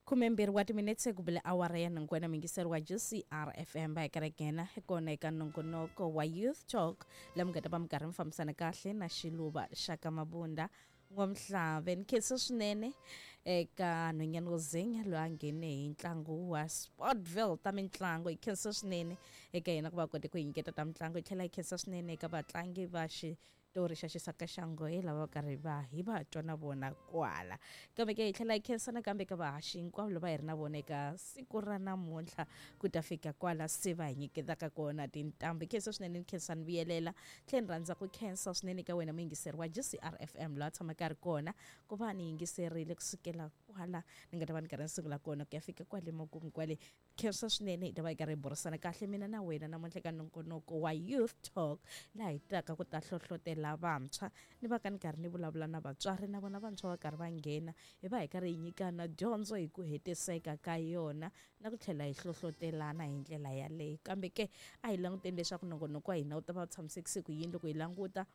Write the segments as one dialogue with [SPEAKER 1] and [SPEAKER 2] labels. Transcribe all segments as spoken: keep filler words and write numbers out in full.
[SPEAKER 1] Khumembirhi wa timinetse ku bile awara ya nhungu wena muyingiseri wa G C R F M, va hi karhi hi kona eka nongonoko wa Youth Talk, la mi nga ta va mi karhi mi fambisana kahle na Xiluva xa ka Mabunda N'wamhlave. Ni khensa swinene eka nhwanyana wo zenya loyi a nghene hi ntlangu wa Sportville ta mitlangu. Hi khensa swinene eka yena ku va kote ku hi nyiketa ta mitlangu. Hi tlhela hi khensa swinene eka vatlangi va xitori xa Xisaka xa Nghohe lava va karhi va hi va twa na vona kwala. Kambe ke hi tlhela hi khensa nakambe ka vahaxi hinkwavo lava hi ri na vona eka siku ra namuntlha ku ta fika kwala se va hi nyiketaka kona tintambu. Hi khensa swinene, ni khensa ni vuyelela tlhela ni rhandza ku khensa swinene ka wena muyingiseri wa G C R F M loyi a tshamaka a ri kona ku va ni yingiserile kusukela kwala ni nga ta va ni karhi ni sungula kona ku ya fika kwale makumu kwale. Khensa swinene. Hi ta va hi karhi hi burisana kahle mina na wena namuntlha ka nongonoko wa Youth Talk, laha hi taka ku ta hlohlotela vantshwa, ni va ka ni karhi ni vulavula na vatswari na vona vantshwa va karhi va nghena, hi va hi karhi hi nyikana dyondzo hi ku hetiseka ka yona na ku tlhela hi hlohlotelana hi ndlela yaleyo. Kambe ke a hi languteni leswaku nongonoko wa hina wu ta va wu tshamisekise ku yini. Loko hi languta,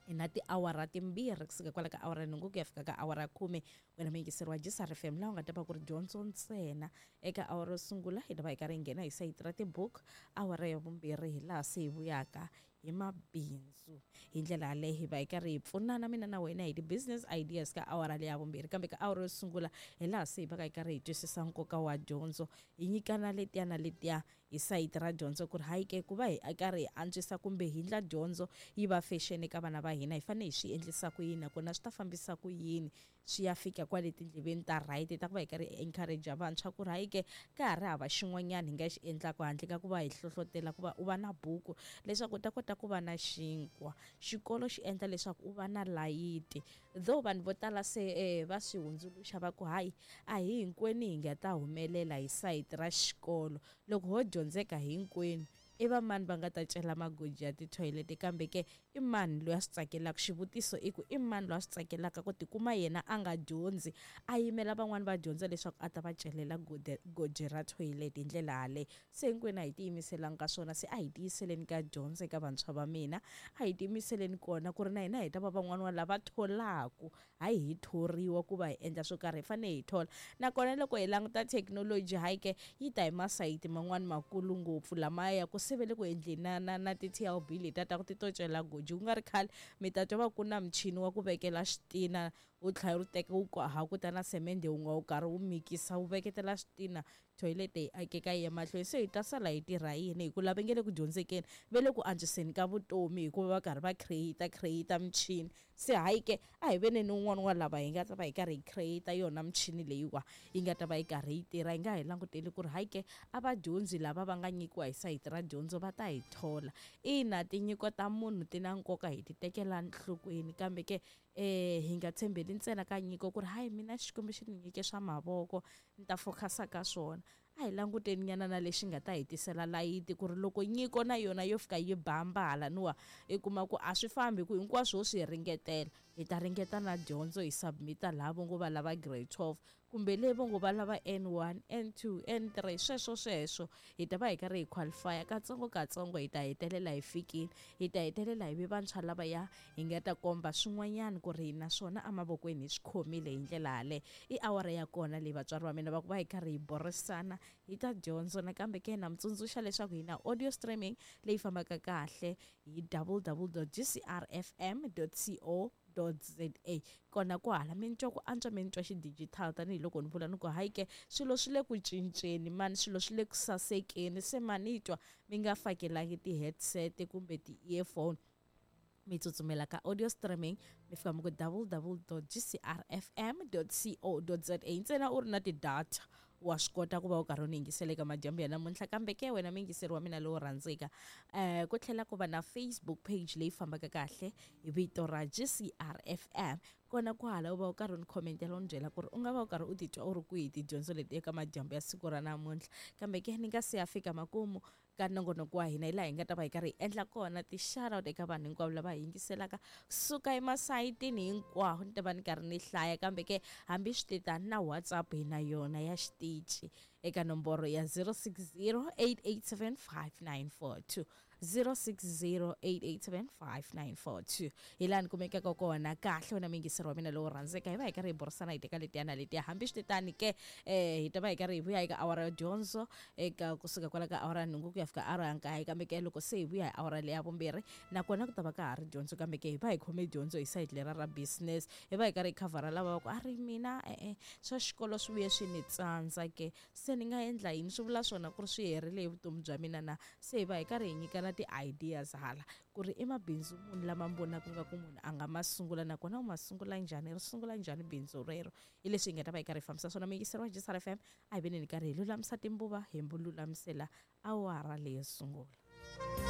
[SPEAKER 1] hi na tiawara timbirhi kusuka kwala ka awara nhungu ku ya fika ka awara khume, wena muyingiseri wa G C R F M, laha u nga ta va ku ri dyondzo ntsena. Eka awara yo sungula hi ta va hi karhi hi nghena hi sayiti ra tibuku. Awara ya vumbirhi hi laha se hi vuyaka hi mabindzu. Hi ndlela yaleyo hi va hi karhi hi pfunana mina na wena hi ti-business ideas ka awara leya vumbirhi. Kambe ka awara yo sungula hi laha se hi va ka hi karhi hi twisisa nkoka wa dyondzo, hi nyikana letiya na letiya hi sayiti ra dyondzo, ku ri hayi ke, ku va hi karhi hi antswisa kumbe hi ndla dyondzo yi va fashion eka vana va hina, hi fanele hi swi endlisa ku yini, nakona swi ta fambisa ku yini swi ya fika kwale tindleveni ta right ta ku va hi karhi hi encourage vantshwa ku ri hayi ke, ka ha ri hava xin'wanyana hi nga xi endlaka handle ka ku va hi hlohlotela ku va u va na buku leswaku u ta kota ku va na xinkwa. Xikolo xi endla leswaku u va na layiti, though vanhu vo tala se eh, va swi hundzuluxa va ku hayi, a hi hinkwenu hi nga ta humelela hi sayiti ra xikolo. Loko ho dyondzeka hinkwenu, i va mani va nga ta cela magoji ya tithoyilete? Kambe ke i mani loyi a swi tsakelaka? Xivutiso i ku i mani loyi a swi tsakelaka ku tikuma yena a nga dyondzi, a yimela van'wani va dyondza leswaku a ta va celela goji ra toilet? Hi ndlela yaleyo se hinkwenu a hi tiyimiselanga ka swona. Se a hi tiyiseleni ka dyondzo eka vantshwa va mina, a hi tiyimiseleni kona ku ri na hina hi ta va van'wani wa lava tholaku. Hayi, hi thoriwa ku va hi endla swo karhi, hi fanele hi thola. Nakona loko hi languta thekinoloji, hayi ke, yi ta hi masayiti man'wani makulu ngopfu lamaya ku se ve le ku endleni na na na ti-T L B letiya ta ku ti to cela goji. Ku nga ri khale mi ta twa va ku na michini wa ku vekela xitina, wu tlhela wu teka wu hakuta na semende wu nga wu karhi wu mikisa, wu veketela xitina, toilet yi akeka yi ya mahlweni. Se hi ta sala hi tirha yini? Hi ku lava nge le ku dyondzekeni, ve le ku antswiseni ka vutomi hikuva va karhi va create create michini. Se hayi ke, a hi veneni un'wana wa lava hi nga ta va hi karhi hi create yona michini leyiwa yi nga ta va yi karhi yi tirha. Hi nga hi languteli ku ri hayi ke, a vadyondzi lava va nga nyikiwa hi sayiti ra dyondzo va ta hi thola. Ina, tinyiko ta munhu ti na nkoka, hi ti tekela nhlokweni, kambe ke eh hi nga tshembeli ntsena ka nyiko ku ri hayi, mina Xikwembu xi ni nyike swa mavoko, ni ta focus-a ka swona. A hi languteni nyana na lexi nga ta hi tisela layiti, ku ri loko nyiko na yona yo fika yi bamba halaniwa, i kuma ku a swi fambi, ku hinkwaswo ho swi ringetela. Hi ta ringeta na dyondzo, hi submit-a laha vo ngo va lava grade twelve kumbe le vo ngo va lava N one, N two, N three, sweswo sweswo hi ta va hi karhi hi qualify katsongo katsongo. Hi ta hetelela hi fikile, hi ta hetelela hi vi vantshwa lavaya hi nga ta komba swin'wanyana ku ri naswona emavokweni hi swi khomile. Hi ndlela yaleyo i awara ya kona leyi, vatswari va mina, va ku va hi karhi hi burisana hi ta dyondzo. Nakambe ke na mi tsundzuxa leswaku hi na audio streaming leyi fambaka kahle hi W W W dot G C R F M dot co za. Kona kwahala mi ni twa ku antswa, mi ni twa xidigitali, tanihiloko ni vula ni ku hayi ke, swilo swi le ku cinceni mani, swilo swi le ku sasekeni. Se mani twa mi nga fakelangi ti-headset kumbe ti-earphone, mi tsutsumela ka audio streaming, mi fika mi ku W W W dot G C R F M dot co dot za ntsena u ri na ti-data, wa swi kota ku va u karhi u ni yingisela eka madyambu ya namuntlha. Kambe ke wena muyingiseri wa mina lowo rhandzeka, um ku tlhela ku va na Facebook page leyi fambaka kahle hi vito ra G C R F M. Kona kwahala u va u karhi u ni khomentela, u ni byela ku ri u nga va u karhi u titwa u ri kwihi tidyondzo leti eka madyambu ya siku ra namuntlha. Kambe ke ni nga se ya fika makumu ka nongonoko wa hina, hi laha hi nga ta va hi karhi hi endla kona ti-shoutout eka vanhu hinkwavo lava hi yingiselaka kusuka emasayitini hinkwawo. Ni ta va ni karhi ni hlaya, kambe ke hambi swi tetani na WhatsApp hi na yona ya xitici eka nomboro ya zero six zero eight eight seven five nine four two, zero six zero eight eight seven five nine four two hi laha ni kumekaka kona kahle wena muyingiseri wa mina lowo rhandzeka hi va hi karhi hi burisana hi teka letiya na letiya hambi switetani ke um hi ta va hi karhi hi vuya eka awara ya dyondzo eka kusuka kwala ka awara ya nhungu ku ya fika awara ya nkaye kambe ke loko se hi vuya hi awara leya vumbirhi nakona ku ta va ka ha ri dyondzo kambe ke hi va hi khome dyondzo hi sayiti lera ra business hi va hi karhi hi khavhara lava va ku a ri mina e-e swa xikolo swi vuye swi ni tsandza ke se ni nga endla yini swi vula swona ku ri swi herile hi vutomi bya mina na se hi va hi karhi hi nyikana ti-ideas hala ku ri i mabindzu munhu lama mi vonaka nga ku munhu a nga ma sungula nakona u ma sungula njhani ri sungula njhani bindzu rero hi leswi hi nga ta va hi karhi hi fambisa swona muyingiseri wa G S R F M a hi veneni karhi hi lulamisa timbuva hi lulamisela awara leyo sungula.